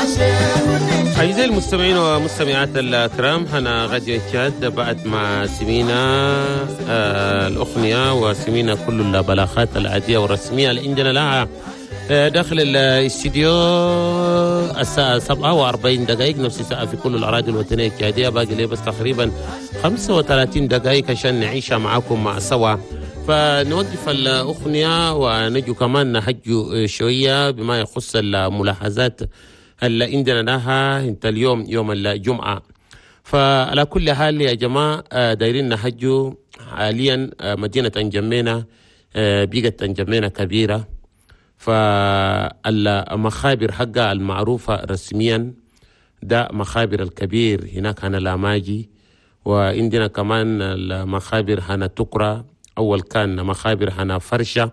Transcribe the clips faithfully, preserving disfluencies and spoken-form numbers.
أعزائي المستمعين ومستمعات الكرام، هنا راديو تشاد. بعد ما سمينا آه الأغنية وسمينا كل البلاغات العادية والرسمية اللي عندنا لها آه داخل الاستديو، الساعة سبعة وأربعين دقائق، نفس الساعة في كل الأراضي الوطنية التشادية. باقي لي بس تقريبا خمسة وثلاثين دقائق عشان نعيشها معاكم مع سوا، فنوقف الأغنية ونجو كمان نحجو شوية بما يخص الملاحظات اللي عندنا لها انت اليوم يوم الجمعة. فعلى كل حال يا جماعة، آه، دايرين نحجو حاليا آه، مدينة أنجمينا آه، بقت أنجمينا كبيرة، فالمخابر حقها المعروفة رسميا ده مخابر الكبير هناك هنا لاماجي، وعندنا كمان المخابر هنا تكرا، أول كان مخابر هنا فرشة،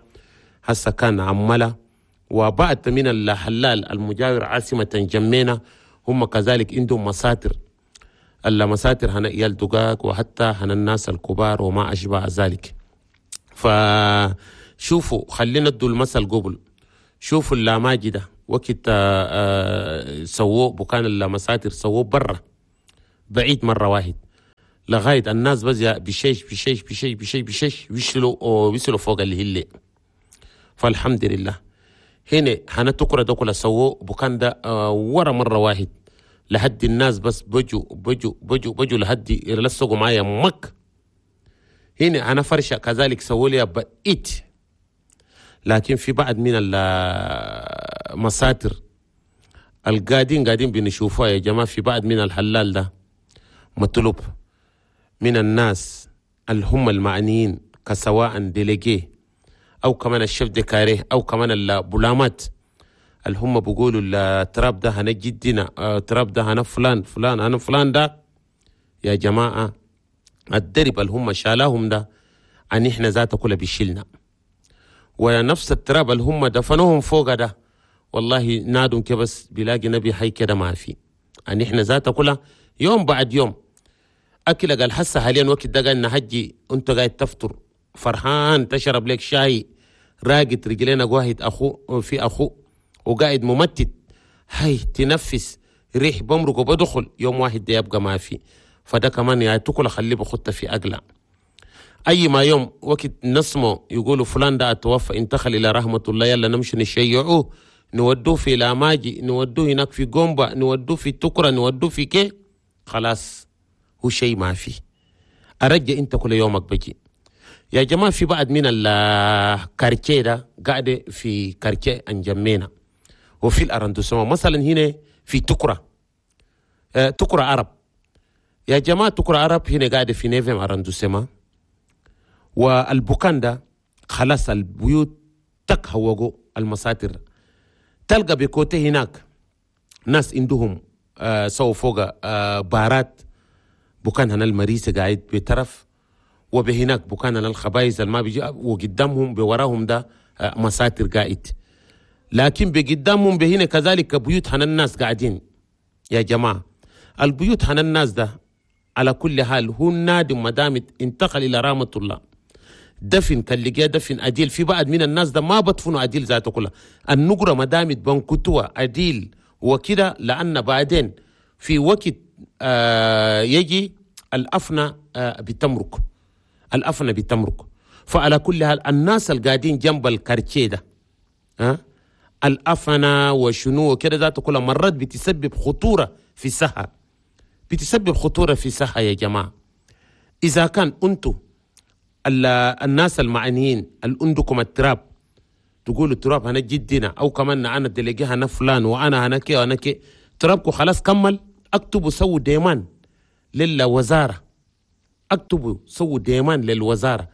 هسه كان عملة، وبعد من الحلال المجاور عاصمة انجمينا هم كذلك عندهم مساتر، المساتر هنا إيال دقاق وحتى هنا الناس الكبار وما أشبه ذلك. فشوفوا، خلينا ندوا المثل قبل. شوفوا اللاماجي ده وقت آه، آه، سووه بكان المساتر، سووه برا بعيد مرة واحد لغاية الناس بس بشيش بشيش بشيش بشيش بشيش ويشلوا ويصلوا فوق الهلة. فالحمد لله هنا هنا تكرة ده كله سووه بكان ده آه، ورا مرة واحد لحد الناس بس بجوا بجوا بجوا بجوا لحد يلصقوا معايا مك. هنا أنا فرشة كذلك سووا لي بقيت، لكن في بعض من المساتر القاعدين قاعدين بنشوفها يا جماعة في بعض من الحلال ده، مطلوب من الناس اللي هم المعنيين، كسواء délégué او كمان ال chef de carré او كمان البلامات اللي هم بيقولوا التراب ده هنا جدنا، آه، التراب ده هنا فلان فلان هنا فلان ده. يا جماعة، الدرب اللي هم شالاهم ده عن احنا ذاته كله بيشيلنا، ونفس التراب اللي هم دفنوهم فوق ده، والله نادم كبس بيلاقي نبي حي كده ما في. عن احنا ذاته كلها يوم بعد يوم اكل. قال حسه حاليا وقت ده قال نهجي، انت قاعد تفطر فرحان، تشرب لك شاي، راقد رجلينا واحد اخو في اخو وقاعد ممتد، هاي تنفس ريح بمرق وبدخل، يوم واحد ده يبقى ما في. فده كمان يا تاكل خليه بخطة في أقلع أي ما يوم وقت نسمع يقولوا فلان ده توفى، انتقل إلى رحمة الله، يلا نمشي نشيعوه، نودوه في لاماجي، نودوه هناك في قومبا، نودوه في تكرة، نودوه في كي، خلاص هو شيء ما في. أرجع أنت كل يومك بجي. يا جماعة، في بعض من ال quartier ده قاعدة في quartier أنجمينا وفي ال arrondissement، مثلا هنا في تكرة، آه، تكرة عرب يا جماعة، تكرة عرب هنا قاعدة في neuvième arrondissement، والبكان ده خلاص البيوت تك هوجو المساتر، تلقى ب côté هناك ناس عندهم آه سووا فوق آه بارات، بكان هنا المريسة قاعد بطرف، وبهناك بكان هنا الخبايز ما بيجي، وقدامهم بوراهم ده آه مساتر قاعد، لكن بقدامهم بهنا كذلك بيوت هنا الناس قاعدين. يا جماعة، البيوت هنا الناس ده على كل حال هو نادم ما دام انتقل إلى رحمة الله، دفن كان لقاه دفن عديل. في بعض من الناس ده ما بدفنوا عديل ذاته كلها، النقرة ما دامت بنكتوها عديل وكده، لأن بعدين في وقت آه يجي الأفنى آه بتمرق، الأفنى بتمرق. فعلى كل حال الناس القاعدين جنب ال quartier ده، ها الأفنى وشنو وكده ذاته كلها مرات بتسبب خطورة في الصحة، بتسبب خطورة في الصحة يا جماعة. إذا كان أنتم الناس المعنيين اللي عندكم التراب تقولوا التراب هنا جدنا، او كمان انا délégué هنا فلان وانا هنا كي وانا كي، ترابكم خلاص كمل، اكتبوا سووا demande للوزاره، اكتبوا سووا demande للوزاره.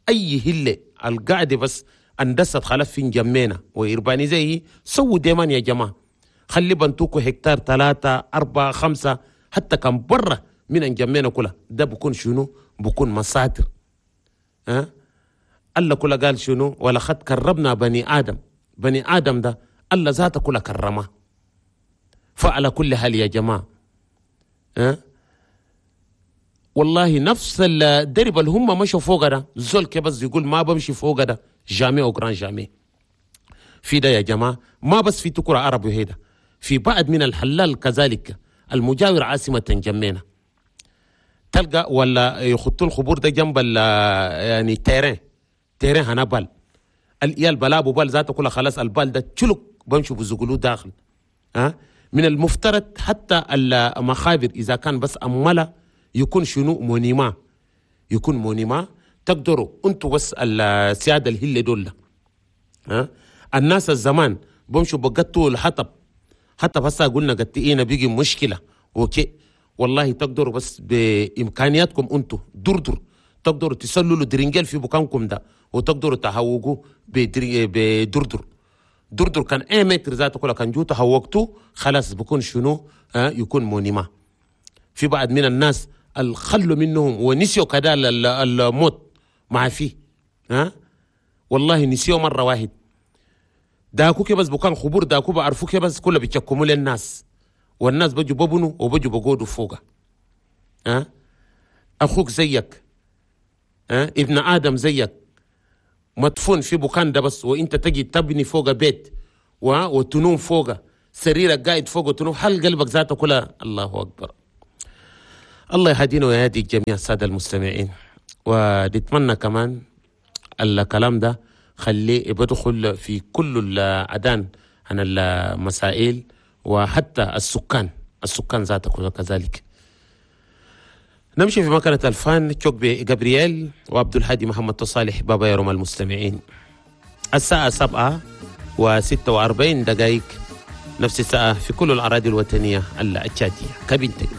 اي هله القاعده بس اندست خلاص في انجمينا و urbanisée، سووا demande يا جماعه، خلي بنتوكو هكتار ثلاثة أربعة خمسة حتى كان برا من انجمينا كلها، ده بكون شنو؟ بكون مساتر. ها الله كله قال شنو؟ ولقد كرمنا بني آدم. بني آدم ده الله ذاته كله كرمه. فعلى كل حال يا جماعة، ها والله نفس الدرب اللي هم مشوا فوق ده، زول بس يقول ما بمشي فوق ده، jamais au grand jamais. في ده يا جماعة، ما بس في تكرة عرب وهيدا، في بعض من الحلال كذلك المجاور عاصمة جمينة تلقى ولا يخطوا الخبور ده جنب يعني terrain terrain هنا بال الإيال بلابو بال ذاته كلها خلاص البال ده تشلك بمشوا بزقلوه داخل. ها من المفترض حتى المخابر إذا كان بس أملا يكون شنو monument، يكون monument تقدروا انتوا بس السيادة الهلة دول. ها الناس الزمان بمشوا بقطوا الحطب، حتى بس قلنا قطئينا بيجي مشكلة okay والله تقدروا بس بإمكانياتكم انتوا دردر تقدروا تسللوا درنجل في بكانكم ده وتقدروا تهوجوا بدردر. دردر كان اي متر ذاته كله كان جو تهوجتوا خلاص بكون شنو ها يكون monument. في بعض من الناس الخلوا منهم ونسيوا كذا الموت مع فيه، ها والله نسيوا مرة واحد داكو كي بس بكان خبور داكو بعرفوا كي بس كله بيتشكموا للناس والناس بجوا ببنوا وبجوا بقودوا فوقه. ها اخوك زيك، ها ابن ادم زيك مدفون في بكان ده بس، وانت تجي تبني فوق بيت وتنوم فوقه سريرك قاعد فوق وتنوم، هل قلبك ذاته كلها؟ الله اكبر. الله يهدينا ويهدي الجميع السادة المستمعين. ونتمنى كمان الكلام ده خليه بدخل في كل الأذان عن المسائل وحتى السكان، السكان ذاته كذلك. نمشي في مكانة الفان تشوك جابرييل وعبد الهادي محمد تصالح بابا يرم المستمعين. الساعة سبعة وستة وأربعين دقائق نفس الساعة في كل الأراضي الوطنية التشادية. كابين تجري.